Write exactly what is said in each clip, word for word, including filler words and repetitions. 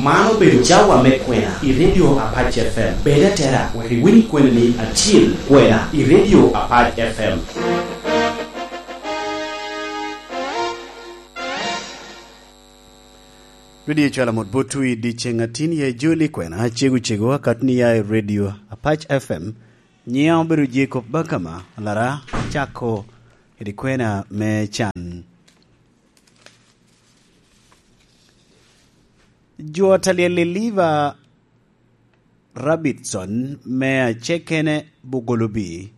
Man obedo cawa me kwena i Radio Apac F M. Bed atera wek iwiny kwena-ni acil, kwena i Radio Apac F M. Dwedi ecwalo mot botwu i dyeceŋ atin ya ejoli kwena cego cego akatni ya i Radio Apac F M. Nyiŋa obedo Jacob Bakama, alara acako kede kwena me can. Jo talyel i Liva Rabitson me acekene Bugolobi.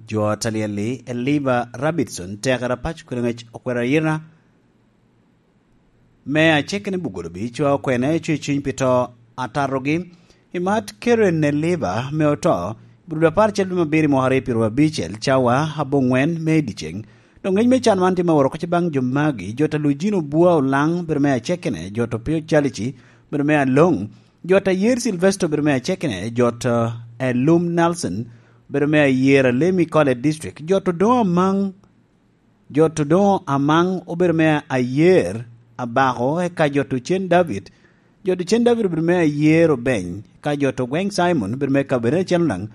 Jo talyel i Liva Rabitson tekere apac kwena ŋec okwero ayira me acekene Bugolobi cwa okwena ecwe cuny pi to atatogi. I mat Karen ne Liva me oto, brudo apar cel dwe mabiro i mwaka aryo pyero abicel, cawa aboŋwen me i dyeceŋ. Dok ŋec me can man tye me woro kocci baŋ jo magi: jo ta Lujino Bua Olaŋ, bedo me acekene, jo to Pio Calici, bedo me Aloŋ, jo ta Yer Silvesto, bedo me acekene, jo to Elum Nelson, bedo me Ayer Alemi College District, jo to Doŋ Amaŋ, jo to Doŋ Amaŋ obedo me Ayer Abako, eka jo to Cen David, jo to Cen David obedo me Ayer Obeny, eka jo to Gweŋ Simon obedo me Kabedo Acen Olaŋ,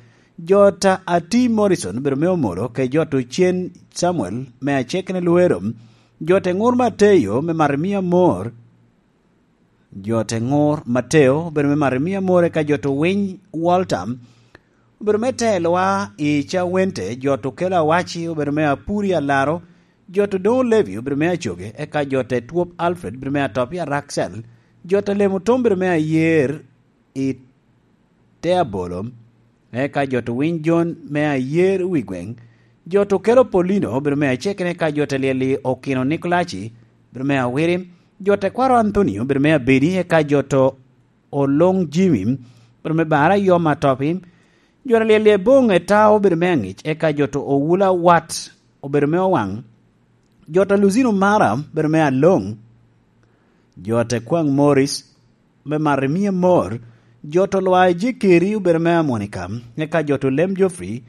jo ta Ati Morrison obedo me Omoro, ke jo to Cen Samuel me acekene Luero, jo te Ŋur Mateyo me Marimia Mor, jo te Ŋur Mateo obedo me Marimia More, ka jo to Winy Walter obedo me telowa i Cawente, jo to Kelo Awaci obedo me Apuri Alaro, jo to Doŋ Levi obedo me Acoge, eka jo te Twop Alfred obedo me Atop i Araksel, jo te Lemo Tom obedo me Ayer i te abolo, eka jo to Winy Jon me Ayer wi gweŋ, jo to Kelo Polino obedo me acekene, eka jo te Lyel i Okino Nikolaci obedo me Awiri, jo te Kwaro Anthony obedo me Abedi, eka jo to Oloŋ Jimmy obedo me Bara Yom Atopi, jo te Lyel i Eboŋ Etao obedo me Aŋic, eka jo to Owula Wat obedo me Owaŋ, jo to Luzino Mara obedo me Aloŋ, jo te Kwaŋ Morris me Marimia Mor, jo to Lwa Ejekeri obedo me Amonika, eka jo to Lem Geoffrey,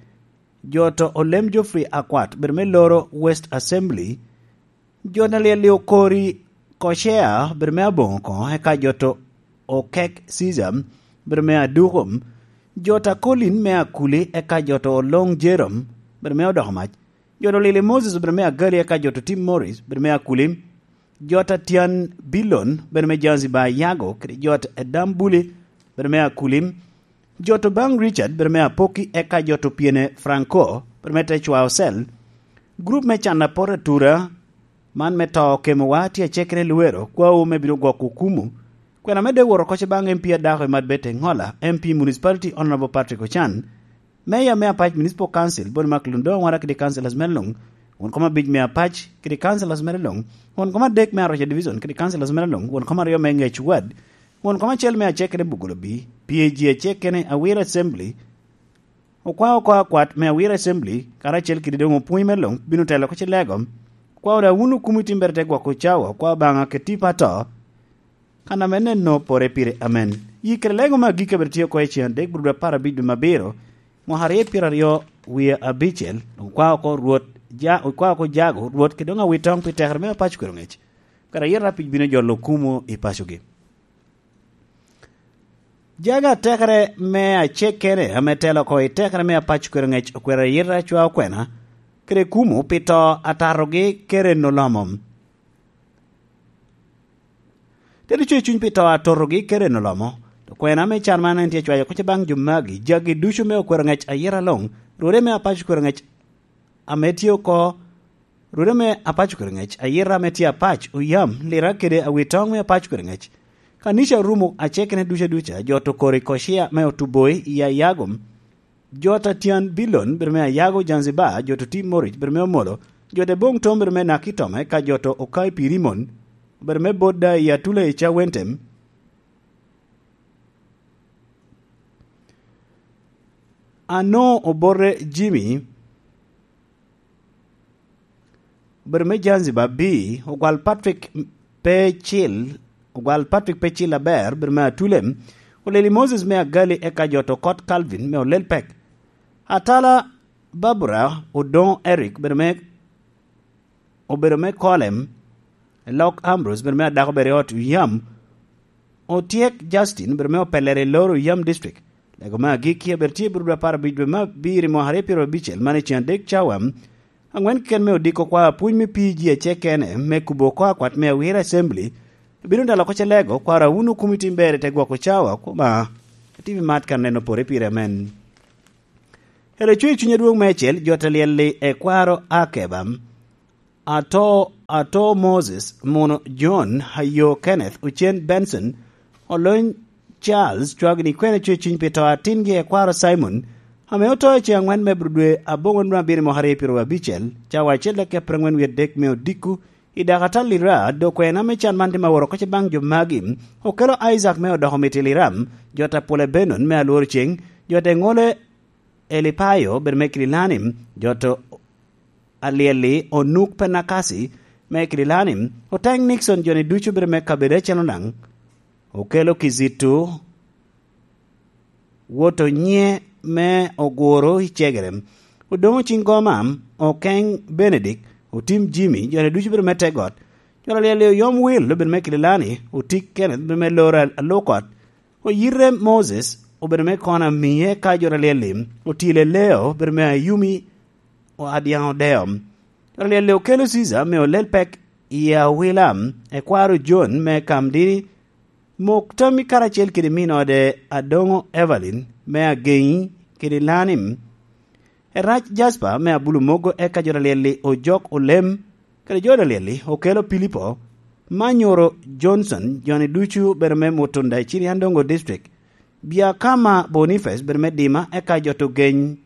jo to Olem Geoffrey Akwat obedo me Loro West Assembly, jo na Lyel i Okori Kocea obedo me Aboŋo koŋo, eka jo to Okek Caesar obedo me Aduko, jo ta Colin me Akuli, eka jo to Oloŋ Jerome obedo me Odoko Mac, jo to Lyel i Moses obedo me Agali, eka jo to Tim Morris obedo me Akuli, jo ta Tyan Bilon obedo me Zanzibar Yago, kede jo ta Edam Buli obedo me Akuli, jo to Baŋ Richard obedo me Apoki, eka jo to Pyene Franco obedo me Tecwa Ocel. Gurup me can apot atura man me to okemowa tye acekere Luero, kwawu me bino gwoko okumu. Kwena me dek woro kocce baŋ M P adako i Madbete Ŋola, M P Municipality Honorable Patrick Ocan, Mayor me Apac Municipal Council, Boni Mark Lundo, aŋwara kede councillors mere luŋ, won kom abic me Apac kede councillors mere luŋ, won kom adek me Aroca Division kede councillors mere luŋ, won kom aryo me Ŋec Ward, won kom acel me Acekene Bugolobi, P A G Acekene, Awira Assembly, okwao oko akwat me Awira Assembly, karacel kede doŋ opwony mere luŋ bino telo oko cilego. Okwao daŋ wun okumo i timbere te gwoko cawa, okwao Obaŋa kede tipo ato, kan ame neno pore pire. Amen. Yi kede lego me agikki abed tye oko i cen adek, brudo apar abic dwe me abiro, mwaka aryo pyero aryo wie abicel, okwao oko Rwot, ja, okwao oko jago Rwot, kede doŋ awitoŋ pi tekere me Apac Kwero Ŋec, kara yet apic bino jolo okumo i pacogi. Jago atekere me acekene ame telo oko i tekere me Apac Kwero Ŋec okwero ayita acwa okwena, kede kumo pi to atatogi kede nolomo. Te ducu i cuny pi to atotogi kede nolomo, to kwena me can man en tye cwayo kocce baŋ jo magi, jagi ducu me okwero ŋec ayira luŋ, rwode me Apac Okwero Ŋec ame tye oko, rwode me Apac Okwero Ŋec, ayira ame tye Apac, Oyam, Lira kede Awitoŋ me Apac Okwero Ŋec, kanica Orumo Acekene ducu aduca, jo to Kori Kocia me Otuboi i Ayago, jo ta Tyan Bilon, bedo me Ayago, Zanzibar, jo to Tim Morich, bedo me Omolo, jo ta Boŋ Tom, bedo me Nakitome, ka jo to Okai Pirimon, bedo me Bodda i Atula i Cawentem. Ano Obote Jimmy, obedo me Zanzibar B, ogwal Patrick Pecil, ogwal Patrick Pecil aber, obedo me Atulem, oleli Moses me Agali, eka jo to Kot Calvin me Olelpek. Atala Barbara Odoŋo Eric, obedo me, obedo me Kolem, Lok Ambrose, obedo me Adako, obedo i ot yam, Otyek Justin obedo me opellere i Loro Yam District. Lego me agikki abedo tye i Burudu apar abic dwe me abiro i mwaka aryo pyero abicel, man i cen adek cawa. Aŋwen keken me odiko kwa apwony me P G acel kene me kubo oko akwat me Awira Assembly. Bino dalo oko ce lego, kwaro awuno kumi tim ber i te gwoko cawa, koma atibi mat kan neno pore pire amen. Ere cwe i cuny adwoŋ me acel, jo te lyel-li e kwaro Akeba. Ato, Ato Moses, Muno John, Ayo Kenneth, Ocen Benson, Olony Charles, cwagini kwene cwe cuny pi to atingi e kwaro Simon, ame oto i ceŋ aŋwen me dwe aboŋo nwa abiro i mwaka aryo pyero abicel, cawa acel dakica pyeraŋwen wie adek me odiko, i dakatal Lira, dok kwena me can man tye ma woro kocce baŋ jo magi, okelo Isaac me odoko miti Liram, jo ta pwole Benon me alworo ceŋ, jo te ŋole Elipayo, bedo me Kirilanim, jo to alyel-li, Onuk Penakasi me Kirilanim, oteŋ Nixon, jo-ni ducu bedo me kabedo acel onaŋ, okelo Kizito, wot onyiŋe me oguro i cegere, Odoŋo Ciŋ Goma, Okeŋ Benedict, Otim Jimmy, jo-ni ducu bedo me Tegot, jo alyel-li, Oyom Wil, obedo me Kirilanim, Otik Kenneth, obedo me Loro Alukot, Oyite Moses, obedo me kono amiye ka jo alyel-li, Otile Leo, obedo me Ayumi, o Adyaŋ Odeo. Jo alyel-li okelo Cica me olel pek i awila, ekwaro John me Kamdini, mok tammi karacel kede min ode Adoŋo Evelyn me Ageŋi kede Lanim, Erac Jasper me Abulu Mogo, eka jo alyel-li, Ojok Olem, kede jo alyel-li, okelo Pilipo, Manyoro Johnson, jo-ni ducu bedo me Mutunda i Ciriandongo District, Biakama Boniface bedo me Dima, eka jo to geny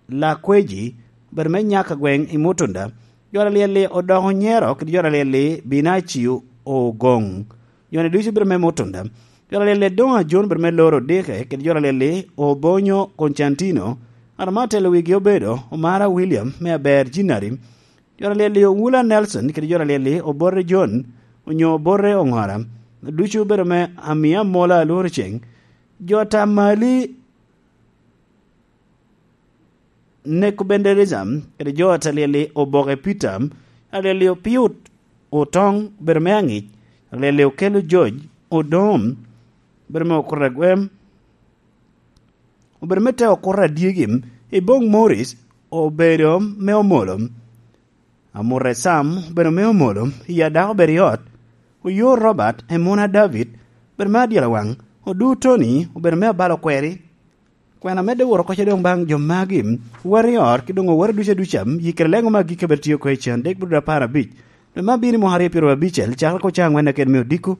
Lakweji bedo me Nyaka gweŋ i Mutunda, jo alyel-li, Odoko Nyero kede jo alyel-li, Binacio Ogoŋ, jo-ni ducu bedo me Mutunda, jo alyel-li, Doŋ Ajon bedo me Loro Dike kede jo alyel-li, Obonyo Koncantino, ŋat ame atelo wigi obedo Omara William me Aber Jinari, jo alyel-li, Owula Nelson kede jo alyel-li, Obote John onyo Obote Oŋora, ducu bedo me Amia Mola Alworo Ceŋ, jo ta Mali Nekobenderizam kede jo ta alyel-li, Oboke Peter, alyel-li, Opiut Otoŋ bedo me Aŋic, alyel-li, Okelo George Odom bedo me Okuta Gwem, obedo me te Okuta Adyegi, Iboŋ Morris obedo me Omolo, Amute Sam obedo me Omolo, Iya Dako obedo i ot, Oyo Robert, Emuna David obedo me Adyelawaŋ, Odu Tony obedo me Abalo Kweri. Kwena medde woro kocce doŋ baŋ jo magi, wot i ot, ki doŋ owot duca duca, yikere leŋo me agikki abedo tye oko i can dek bot apar abic, dwe me abiro i mwaka aryo pyero abicel, cakere ko cawa aŋwen aked me odiko.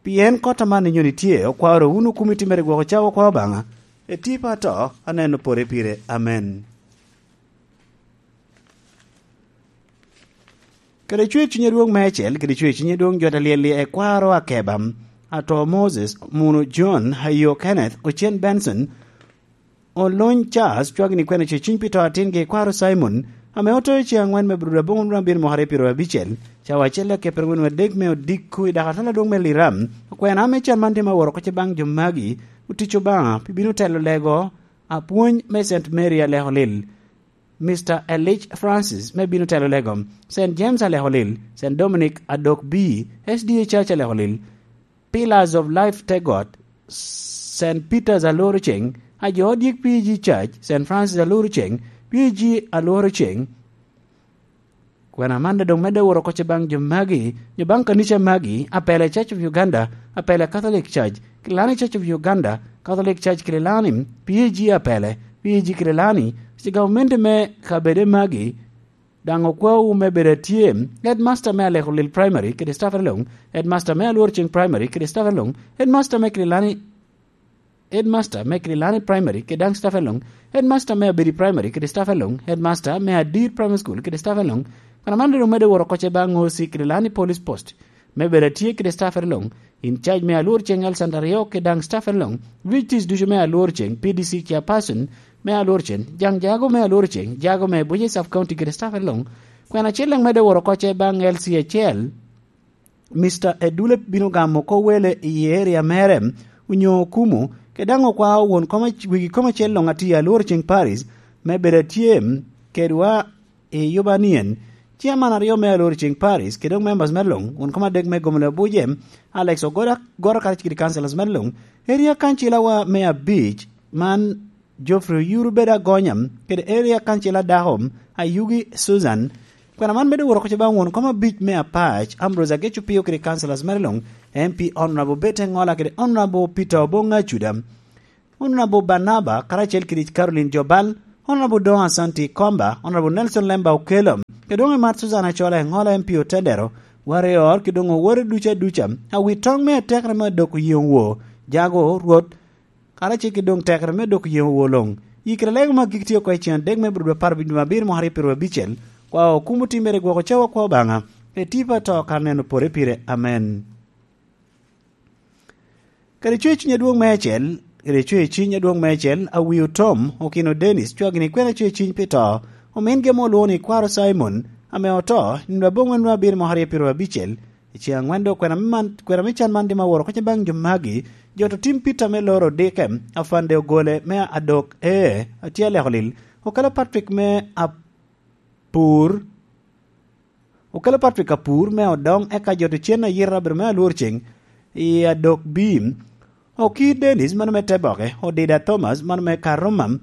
Pien kot aman inyoni tye, okwaro wunu kumi timere gwoko cawa okwa Obaŋa, eti pe ato, aneno pore pire. Amen. Kede cwer cuny adwoŋ me acel, kede cwer cuny adwoŋ jo ta lyel-li ekwaro Akeba, ato Moses, Muno John, Ayo Kenneth, Ocen Benson, Olony Charles, cwagini kwene cwer cuny pi to atingi ekwaro Simon, ame oto i ceŋ aŋwen me Aburudu aboŋo nwoŋo abiro mwaka aryo pyero abicel, cawa acel akepere ŋwen adek me odiko i dakatal adwoŋ me Liram, okwena ame can man tye ma woro kocce baŋ jo magi, otic Obaŋa pi bino telo lego apwony me Saint Mary Aleko Lil. Mister Elich Francis me bino telo lego, Saint James Aleko Lil, Saint Dominic Adok B, S D A Church Aleko Lil, Pillars of Life Tegot, Saint Peter's Alworo Ceŋ, ajo odyek P G Church, Saint Francis Alworo Ceŋ, P G Alworo Ceŋ. Kwena man doŋ medde woro kocce baŋ jo magi, nyo baŋ kanica magi, apele Church of Uganda, apele Catholic Church, Kilani Church of Uganda, Catholic Church Kilani, P A G apele, P A G Kilani, ci gavumenti me kabede magi, daŋ okwawu me bedo atye, headmaster me Aleko Lil Primary kede staff along, headmaster me Alwor Ceng Primary kede staff along, headmaster me Kilani Headmaster me Kililani Primary kede daŋ staff along, Headmaster me Abedi Primary kede staff along, Headmaster me Adir Primary School kede staff along. Kono man doŋ medde woro kocce baŋ O C Kililani Police Post, me bedo atye kede staff along, in charge me Alwor Ceng Alexander Aryo kede daŋ staff along, V Ts ducu me Alwor Ceng, P D C chairperson me Alwor Ceng, Jaŋ Jago me Alwor Ceng, Jago me Buce Sub County kede staff along. Kwena acel daŋ medde woro kocce baŋ L C acel, Mister Edule bino gamo oko wele i area mere, onyo Okumu, kede daŋ okwao won kom ac-, wegi kom acel luŋ atye Alwor Ceng Paris, me bedo atye kedwa i yuba nien, Chairman aryo me Alor Ceng Paris, kede doŋ members me luŋ, won kom adek me Gomolo Abuja, Alex Ogoda, Goro karacel kede councillors me luŋ, area kancilawa me abic, man Geoffrey Oyuru bedo agonya, kede area kancila dako, Ayugi Susan. Kwena man medo woro koca baŋ won kom abic me Apac, Ambrose Ageco Pio kede councillors me luŋ, M P Honorable Bete Ngola kede Honorable Peter Obonga Acuda. Honorable Barnaba, karacel kede Caroline Jobal, Honorable Don Asante Komba, Honorable Nelson Lemba Okello, kede doŋ Emat Susan Acola Eŋola M P Otedero, Warrior, kede doŋ owore ducu aduca, awi toŋ me atekere me dok oyeŋo wo, jago, Rwot, karacel kede doŋ tekere me dok oyeŋo wo luŋ. Yikere lego me agikki tye oko i cen adek me Abril apar wic dwe abiro mwaka aryo pyeraryo abicel, kwa okumo timmere gwoko cawa kwa Obaŋa, etipa to kar neno pore pire. Amen. Kede cwe ciny adwoŋ meicel, kede cwe ciny adwoŋ meicel, awi otom, okino Dennis, cwagini kwena cwe ciny pi to, omin gemo olwoŋo ni kwaro Simon, ame oto, nino aboŋwen nwa abiro mwaka aryo pyeraryo abicel, i ceng aŋwen dok kwena me man, kwena me can man dim aworo koca baŋ jo magi, jo to tim Peter me loro odike, afande ogole me adok, ee, atye aleko lil, okelo Patrick me apur, Okelo Patrick Apur me Odoŋ, eka jo to cen ayira obedo me Alwor Ceng i Adok Bim. Oki Dennis, mano me Teboke, Odida Thomas, mano me Karuma,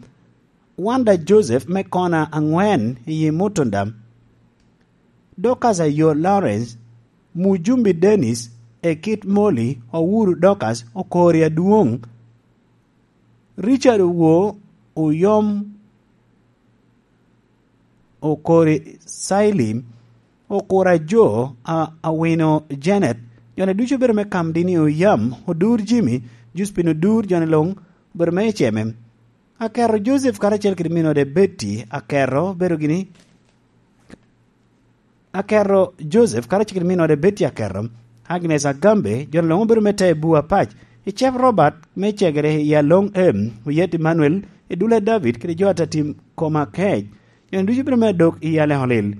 Wanda Joseph me Kona Aŋwen i Mutunda, Dorcas Ayo Lawrence, Mujumbi Dennis, Ekit Moli, Owuru Dorcas, Okori Adwoŋ, Richard Owo, Oyom, Okori Saili, Okura Jo, a, Awino Janet, jone ducu obedo me Kamdini Oyam, Odur Jimmy, Juspin Odur, jone luŋ obedo me Eceme. Akero Joseph karacel kede minode Betty Akero obedo gini, Akero Joseph karacel kede minode Betty Akero, Agnes Agambe, jone luŋ obedo me Tebu Apac, Icep Robert me Cegere i Aloŋ Em, Oyet Emmanuel, Idule David kede jo atatim koma kec, jone ducu obedo me Adok i Aleko Lil.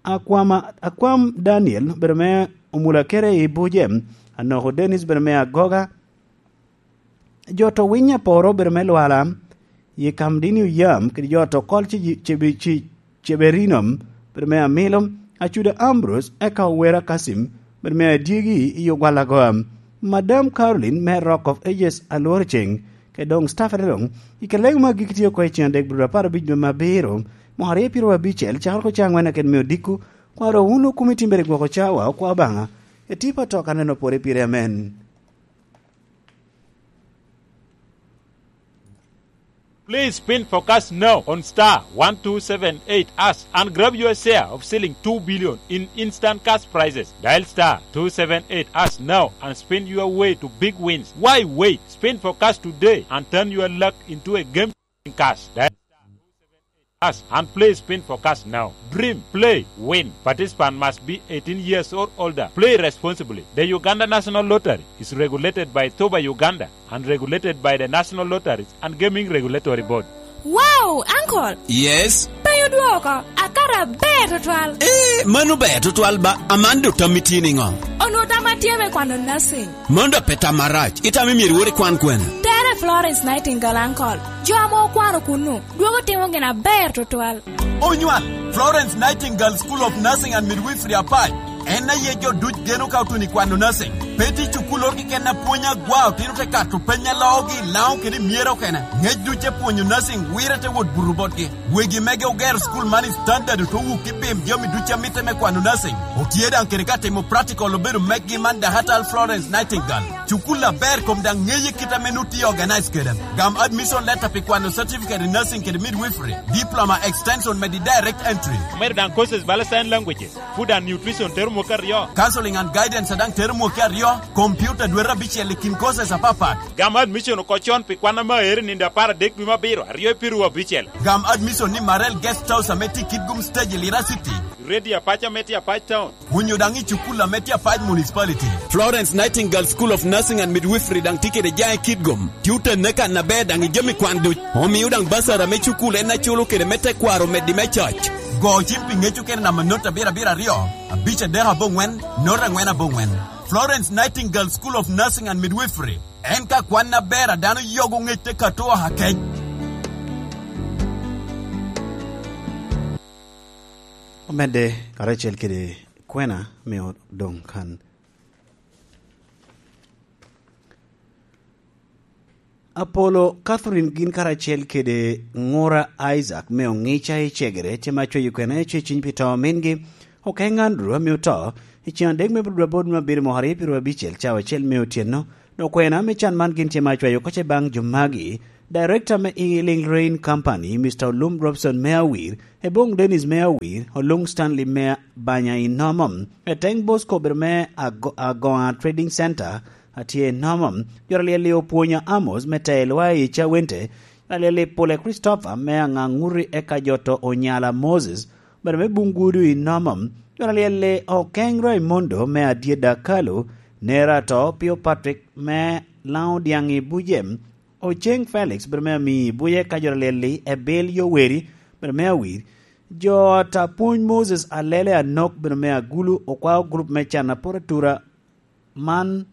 Akwama, Akwam Daniel obedo me Omula Kere i Bujem, Anoko Dennis obedo me Agoga, jo to Winyo Aporo obedo me Lwala, Yekamdini Oyam kede jo to Kol Ce-, Cebe-, Ce-, Ceberino obedo me Amilo, Acuda Ambrose, eka Owera Kasim obedo me Adyegi i Ogwalagoa, Madam Caroline me Rock of Ages Alworo Ceng, kede doŋ staff ene luŋ, i kare lego me agikki tye oko i ceng adek Abril apar abic dwe me abiro, mwaka aryo pyeraryo abicel, cakere oko cawa aŋwen aked me odiko, kwaro wun okumi timbere gwoko cawa, okwa Obaŋa, etipa to ka neno pore pire. Amen. Please spin for cash now on star one two seven eight hash and grab your share of ceiling two billion in instant cash prizes. Dial star two seven eight hash now and spin your way to big wins. Why wait? Spin for cash today and turn your luck into a game in cash. Dial star two seven eight hash and play spin for cash now. Dream, play, win. Participant must be eighteen years or older. Play responsibly. The Uganda National Lottery is regulated by Toba Uganda and regulated by the National Lotteries and Gaming Regulatory Board. Wow, uncle! Yes? Pe odwoko, akato aber tutwal. Eh, mano ber tutwal ba, Amanda, otammi tye niŋo? Onwoŋo tamma tye me kwano nursing. Mano dok pe tam marac, itamo myero iwot ikwan kwene? Tere Florence Nightingale, uncle. Jo ame okwano kunnu, dwogo timo gin aber tutwal. Onywal, Florence Nightingale School of Nursing and Midwifery Apac. En aye jo duc geno ka otuno i kwano nursing. Pe tye cukul oro keken a pwony agwa, otino te kato peny a loogi, Laŋo kede i myero okene. Ngec duc te pwonyo nursing, wire te wot buto botgi. Wegi mege ogero cukul man i standard oto wuk i bim jami duc a mitte me kwano nursing. Otye daŋ kede ka timo practical obedo meggi man Dakatal Florence Nightingale. Cukul aber kom daŋ ŋeye kit ame nu tye organize kede. Gam admission letter pi kwano certificate in nursing kede midwifery, diploma extension medi direct entry. Omedo daŋ courses bala sign languages, food and nutrition tero mwaka aryo. Counseling and guidance daŋ tero mwaka aryo, computer dwete abicel i kin courses apapat. Gam admission oko con pi kwan ame aero i nino apar adek dwe me abiro, aryo i pyeraryo abicel. Gam admission ni Marel Guest House ame tye i Kitgum Stage i Lira City. Radio Apac ame tye Apac Town. Onyo daŋ i cukul ame tye Apac Municipality. Florence Nightingale School of Nursing and Midwifery daŋ tye kede jaŋ i Kitgum. Tye otenne kan aber daŋ i jami kwan duc. Omio daŋ basara me cukul en aculo kede me tekwaro omeddi me cac. Go cim pi ŋec okene namba not abiro abiro aryo, abic adek aboŋwen, not aŋwen aboŋwen. Florence Nightingale School of Nursing and Midwifery. En ka kwan aber a dano yogo ŋec te kato oha kec. Medde karacel kede kwena me odoŋ kan. Apolo, Catherine gin karacel kede ŋura Isaac me oŋica i cegere, tye ma cweyo kwena i ceciny pi to mingi. Okeng Andrew ame oto i ceŋ adek me Budwabod me abiro mwaka aryo pyero abicel, cawa acel me otyeno. Dok kwena me can man gin tye ma cweyo oko ce baŋ jo magi. Director me Healing Rain Company, Mister Olum Robson me Awir, Ebong Dennis me Awir, Olung Stanley me Banya i Nomom, Eteng Bosco obedo me Ago-, Agoa Trading Center, atye i Nomom, Jora Lyel i Opwonya Amos me Telwa i Cawente, Jora Lyel i Pule Christopher me Aŋaŋuti eka Joto Onyala Moses, obedo me Bungudu i Nomom, Jora Lyel i Okeng Raimondo me Adyeda Kalu, Nera to Pio Patrick me Laŋo Dyaŋ i Bujem, Oceng Felix, bedo me ami i Buje ka Jora Lyel i Ebil Yoweri, bedo me Awir. Jo ata pwony Moses Alele Anok, bedo me Agulu, okwao grup me can aporo atura man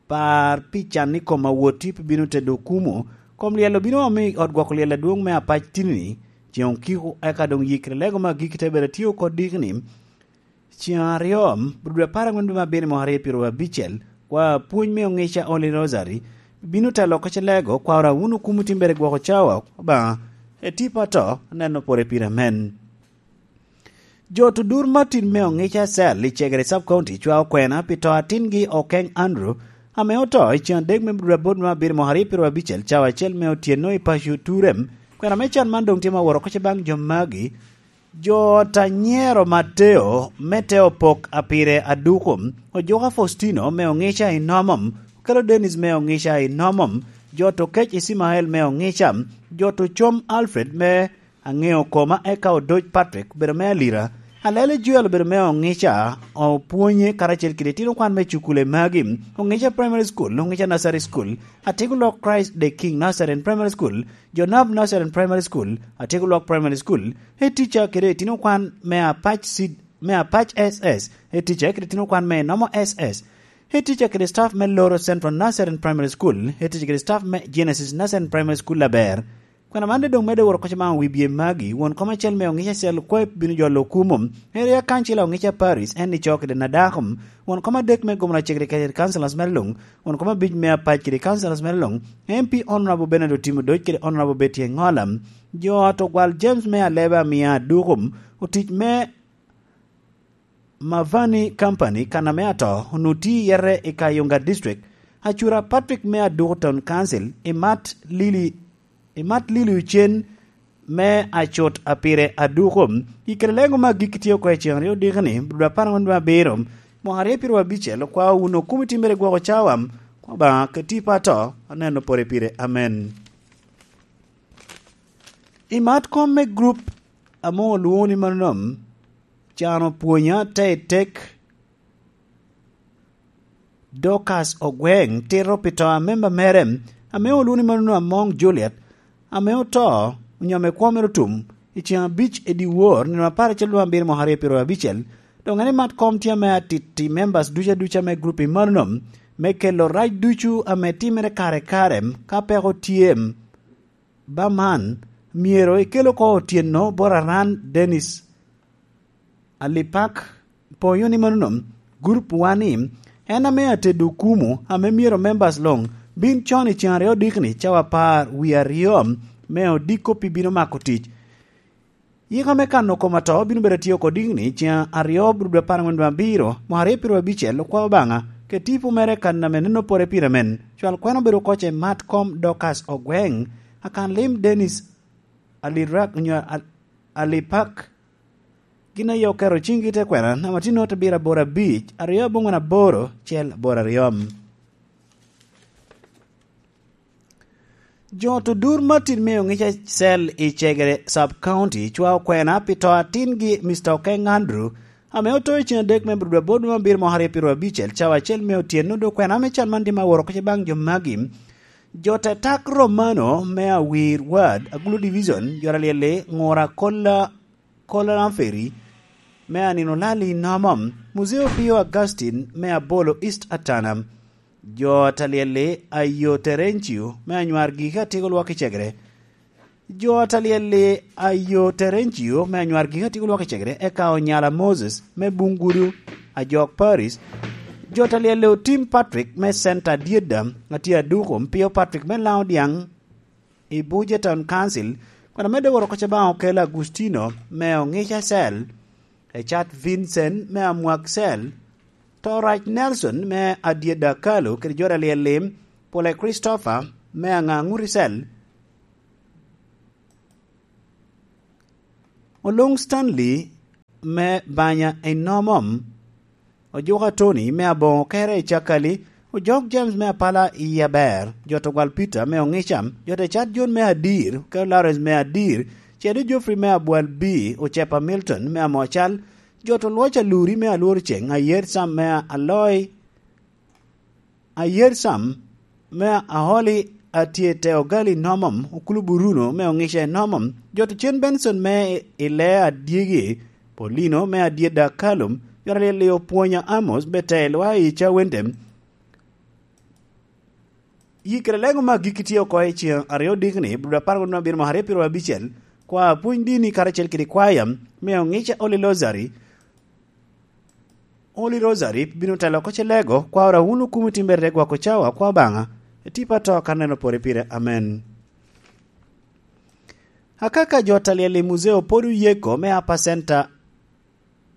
par pi can i kom awoti pi bino tedo okumo. Kom lyel obino omo i ot gwoko lyel adwoŋ me Apac Tinini, ceŋ okiko eka doŋ yikre lego me agikki te bedo atye oko dikni. Ceŋ aryo, dwe apar aŋwen dwe me abiro mwaka aryo pyero abicel, kwa pwony me oŋica Holy Rosary, bino telo oko ce lego, kwa ora wun okumo timbere gwoko cawa, Obaŋa, etipa to, aneno pore pire amen. Jo Tudur Martin me oŋica cell i Cegere Sub County cwao kwena pi to atingi Okeng Andrew, ame oto i ceŋ adek me dwe aboro me abiro mwaka aryo pyero abicel, cawa acel me otyeno i paco Turem. Kwena me can man doŋ tye ma woro oko ce baŋ jo magi. Jo Tanyero Mateo me te opok a pire aduko, Ojuka Faustino me oŋica i Nomom, Okelo Dennis me oŋica i Nomom, jo to kec Icimael me oŋica, jo to com Alfred me aŋeo koma eka Odoc Patrick bedo me Alira, Alele Joel obedo me oŋica, opwonye karacel kede itino kwan me cukule magi, oŋica Primary School, oŋica Nursery School, Atiko Lok Christ the King Nazarene Primary School, Jonab Nazarene Primary School, Atiko Lok Primary School, head teacher kede itino kwan me Apac Seed, me Apac S S, head teacher kede itino kwan me Nomo S S, head teacher kede staff me Loro Central Nazarene Primary School, head teacher kede staff me Genesis Nazarene Primary School aber. Kwena man doŋ medde woro koca maŋ wi bye magi, won kom acel me oŋic acel kwayo bino jolo okumo, area council oŋic a Paris, en ni co kede na dako, won kom adek me gomna cegere kede councilors mere luŋ, won kom abic me apac kede councilors mere luŋ, M P Honorable Bernard Otimo Doc kede Honorable Betty Engola, jo ot ogwal James me Aleba Mia Adukum, otic me Mavani Company kan ame ato, onwoŋo tye i yete i Kayunga District, Acura Patrick me Aduku Town Council, Imat Lili, Imat Lili Ocen me Acut a pire Aduku, i kede lego me agikki tye oko i ceŋ aryo odiko ni, dwe apar aŋwen dwe abiro, mwaka aryo pyero abicel, okwao wun okumi timmere gwoko cawa, Obaŋa keti pa ato, aneno pore pire. Amen. Imat kom me group ame olwoŋo ni Manom, can opwonya te i tek Dorcas Ogweng tito pi to a memba mere ame olwoŋo ni manono Among Juliet, ame oto onyo ame kwo mere otum i ceŋ abic i dyewor nino apar acel dwe abiro mwaka aryo pyero abicel. Doŋ en imat kom tye ame atiti members ducu aduca me group i manono me kelo rac ducu ame timere kare kare ka peko tye. Ba man myero ikel oko otyeno bot Aran Dennis Alipak, poyo ni manono, gurup wa ni, en ame atedo okumu ame myero members luŋ bin con i ceŋ aryo odikni cawa apar wie aryo me odiko pi bino mako tic. Yika me kano kom ato bino bedo atye oko dikni ceŋ aryo bro dwe apar aŋwen dwe abiro, mwaka aryo pyero abicel, okwao Obaŋa, ke tipo mere kan ame neno pore pire men. Cwal kwena obedo oko ce Matcom Dorcas Ogweng, akan lim Dennis Alirak, onyo Al-, Alipak, gin aye oketo ciŋgi i te kwena, namba tye note abiro aboro abic, aryo aboŋwen aboro, cel aboro aryo. Jo Tudur Martin me oŋic acel i Cegere Sub County cwao kwena pi to atingi Mister Okeng Andrew, ame oto i ceŋ adek me dwe aboro dwe me abiro mwaka aryo pyero abicel, cawa acel me otyeno, dok kwena me can man tye ma woro oko ce baŋ jo magi. Jo Tetak Romano me Awir Ward, Agulu Division, jo Alyel-li, Ŋura Kola, Kola Lamferi, me Anino Lali Nomom, Muzeo Pio Augustine me Abolo East Atana, jo Talyel-li, Ayo Terencio me Anywar Giki Atiko Lwak i Cegere, Jo a talyel-li a yo Terencio me anywar gik a tye olwak i cegere, eka onyala Moses me buŋ gudo a jok Paris. Jo talyel-li otim Patrick me centa adyedda a tye aduko, Mpio Patrick me Laŋo Dyaŋ i Buja Town Council, kun amedde woro koca baŋ okelo Agustino me Oŋica Cell, Ecat Vincent me Amwak Cell, Torac Nelson me Adyedda Kalo kede jo talyel-li, Pule Christopher me Aŋaŋuti Cell, Oluŋ Stanley me Banya i Nomom, Ojuka Tony me Aboŋo Kere i Cakali, Ojok James me Apala i Aber, Jot Ogwal Peter me Oŋica, Jot Ecat John me Adir, Kel Lawrence me Adir, Cedo Geoffrey me Abwal B, Ocepa Milton me Amocal, Jot Olwoc Aluri me Alwor Ceŋ, Ayer Sam me Aloi, Ayer Sam me Aholi, Atye Te Ogali Nomom, Okulu Buruno me Oŋica i Nomom, Jot Cen Benson me Ile Adyegi, Polino me Adyedda Kalum, Jot Alyel Opwonya Amos, Betel wa i Cawende. Yi kede leŋo me agikki tye oko i ceŋ aryo dikni, Ibru apar kun abiro mwaka aryo pyero abicel, kwa pwony dini karacel kede kwaya me Oŋica Holy Rosary, Holy Rosary bino telo oko ce lego, kwa ora wun okumo i timbere te gwoko cawa, kwa Obaŋa, etipa to kan neno pore pire. Amen. Akaka jo talyel i muzeo pwod oyeko me Upper Center